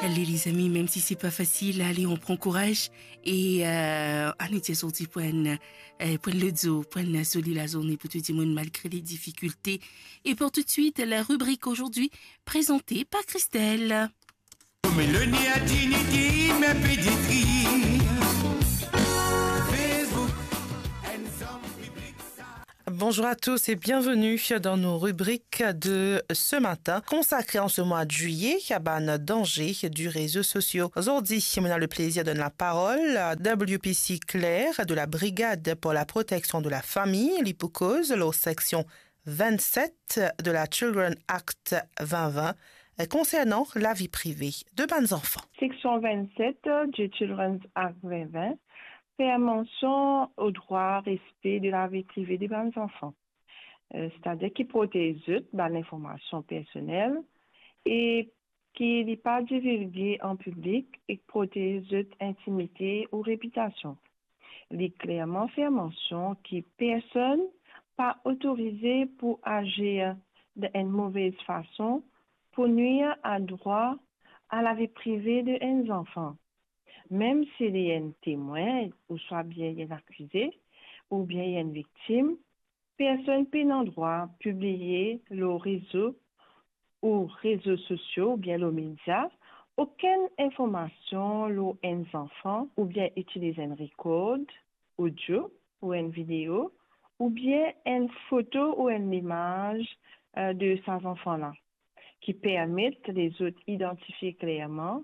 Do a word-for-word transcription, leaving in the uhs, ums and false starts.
Allez, les amis, même si c'est pas facile, allez, on prend courage. Et euh, ann sorti pou enn, euh, pou enn lot zour, pou enn zoli lazourne pou tou dimoun, malgre les difficultés. Et pour tout de suite, la rubrique aujourd'hui, présentée par Christelle. Meloni a dignity, me peditri. Facebook, and some public. Bonjour à tous et bienvenue dans nos rubriques de ce matin, consacrées en ce mois de juillet à bann danger du réseau sosio. Zordi, on a le plaisir de donner la parole à W P C Claire de la Brigade pour la protection de la famille, li pou koz lor section vingt-sept de la Children Act vingt vingt, euh, concernant la vie privée de bann zanfan. Section vingt-sept du Children's Act vingt vingt fer mansion o drwa respe de lavi prive de bann zanfan, euh, setadir ki protez zot bann informasion personel e ki li pa divilge an piblik e protez zot intimite ou repitasion. Li klerman fer mansion ki personn pa otorize pou azir dan enn movez fason pou nwir a drwa a lavi prive de enn zanfan, mem si li enn temwin, ouswa bien li enn akize, oubien li enn viktim. Personn pena drwa pibliye lor rezo ou rezo sosio oubien lor media okenn informasion lor enn zanfan oubien itiliz enn rekord odio ou enn video oubien enn foto ou enn limaz, euh, de sa zanfan la ki permet lezot idantifie klerman